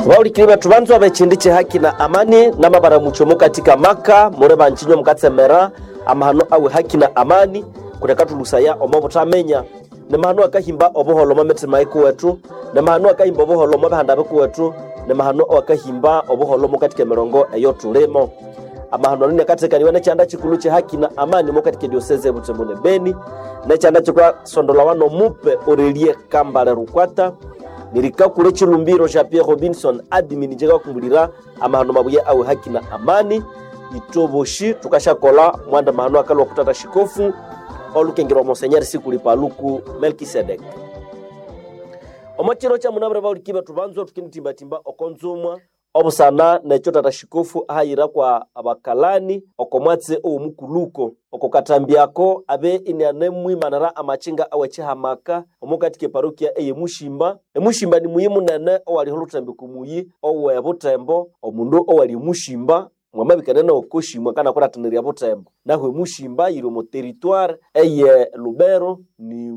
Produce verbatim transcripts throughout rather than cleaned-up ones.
Baulikiri bethu banzwa b'ekindi ky'ehaki na amani namabaramucho mukatika maka mure banchinywa mukatsemera amahano awe haki na amani kulekathulusaya omo buthamenya nemahano akahimba obuholo omo mitima ikuwethu, nemahano akahimba obuholo omo bihanda bikuwethu, nemahano akahimba obuholo mukatika emirongo eyo tulimo. Amahano ano nakatekaniwa nekyanda kikulu kyehaki na amani mukatika edioseze ebutembo ne Beni, nekyanda kikasondolawa nomupe Aurelie Kambale Rukwata, nirikakule chilumbiro sha Pierre Robinson admin njekakumbulira amahano mabuya awe haki na amani itoboshi tukashakola mwanda mahano akalwa kutata shikofu olukengerwa monsenyeri sikuli paluku Melkisedek. Omo chiro cha munabure bauliki bethu banzwa tukinitimbatimba okonzumwa obusana nekyo tata shikofu ahayira kwa abakalani okomwatse owomukuluko okokatambiako abe inianemwimanira amachinga awechihamaka omukati keparokia eye Mushimba. Emushimba ni muyi munene owaliho oluthembe kumuyi owe Butembo, omundu owali Mushimba mwamabikana nokoshimwa kana kuratinirya Butembo. Nahu Emushimba yiri omo territoire eye Lubero ni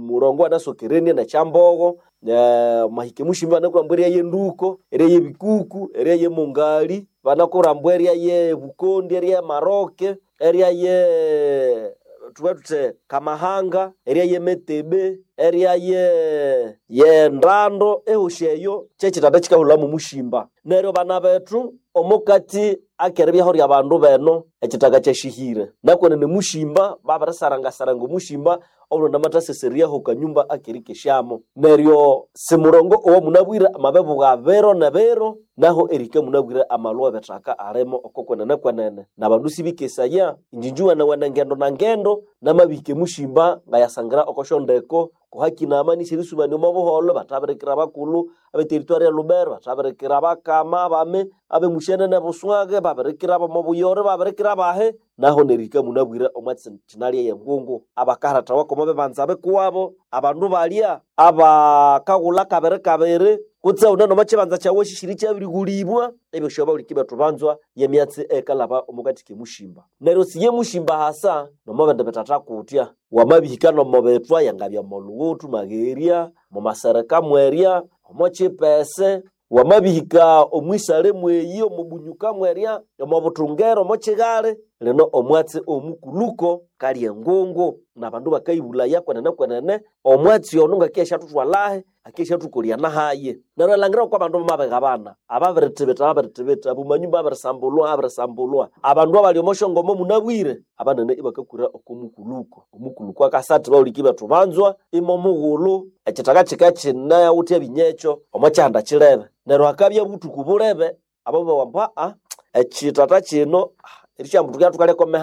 murongo anasokerenie nekyambogo. Eh, mahike Mushimba banakurambwa eria yenduko, eria yebikuku, eria yemungali, banakurambwa eria ye Bukondi, eria Maroke, eria ye tuwe tute Kamahanga, eria ye Metebe, eria ye ye Ndando, ehoshi eyo kyekitanda kikahulhamu Mushimba. Neryo bana bethu omukati akeribyaho rya bandu beno ekitaka kyashihire nakwenene Mushimba babirisarangasaranga Omushimba obulonda amathaseseriaho kanyumba akerikeshamo. Neryo simurongo owo munabwire amabebuga bero ne bero naho erika munabwire amalwa ebithaka alimo oko kwenene kwenene nabandu sibikesaya injinji wene ngendo na ngendo namabike Mushimba ngayasangira okoshondeko kuhaki na amani sirisubani omo buholo bathabirikira abakulhu abe territoire ya Lubero bathabirikira abakama abame abe Mushenene Buswage babirikira abomo Buyore babirikira abahe naho nerika munabwire omwatsi kinalya yengungu abakarathawa komo bebanza bikuwabo abandu balya abakaghulha kabiri kabiri kutse une nomo kibanza kyawu shishiri kyabirigulibwa ebyo syo bethu banzwa yemyatsi ekalaba omukati kemushimba. Neryo siye Mushimba hasa nomo bindi bithatha kutya wamabihika nomo bithwa yangabya molughuthu magherya mumasereka mwerya omo kipese wamabihika omwisale mweyi omubunyuka mwerya omo buthungero omo kighali lino omwatsi omukuluko kali engungu nabandu bakayibulaya kwenene kwenene omwatsi ono ngakiyashathuthwalahe akiyashathukolya nahaye. Neryo elangira okwa bandu bamabighabana ababirithibitha babirithibitha abumanyumba abirisambulwa abirisambulwa abandu abali omoshongomo munabwire abanene ibakakura oko mukuluko. Omukuluko akasathi bawuliki bethu banzwa imo mughulhu ekithaka kika kinawuthe ebinyekyo omo kyihanda kilebe. Neryo hakabya buthuku bulebe abo bawamba a ekitata kino erikyambu thukalya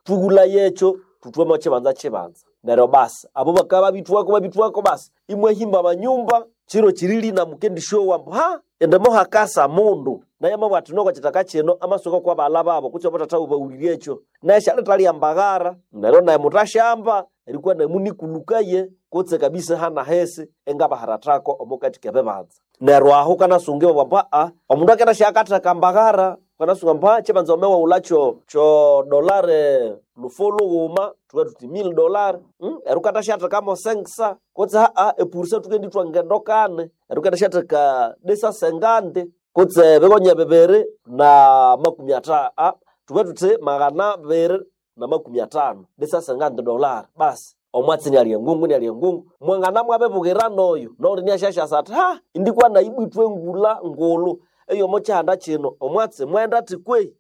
thughulaya ekyo thuthwemo kibanza kibanza. Neryo basi abo bakabya babithwako babithwako basi imwahimba amanyumba kiro kirili na mukendisyowa ambu ha indi mohakasa mundu naye amabugha athi noko ekithaka kino amasuka kwa baghalha babo kutse abathatha bawulirye ekyo naye syalithali mbaghara neryo naye muthasyamba erikwa namunikulukaye kutse kabisa hanahesi engabaharathako omukati kebibanza. Neryo aho kanasunga ibabugha ambu aa omundu akendasya mbaghara kanasunga ambu aa kibanza wame kyo kyo dolare lufo lughuma thuwe thuthi mille dollar hmm? Eryo wukathasyathekamo sengsa kutse aa epurisa thukendithwa ngendo kane eryo wukathasyatheka desa sengandi kutse bigonya bibiri na makumi atha a thuwe thuthi maghana abiri na makumi athano desa sengandi dollar basi omwatsi nialya engungu nialya engungu mwangana mwabibughira noyo noli niasyasyasa athi ha indikwa nayi ibwithwe engula ngulhu eyomo kyihanda kino omwatsi mwenda athi kwehi.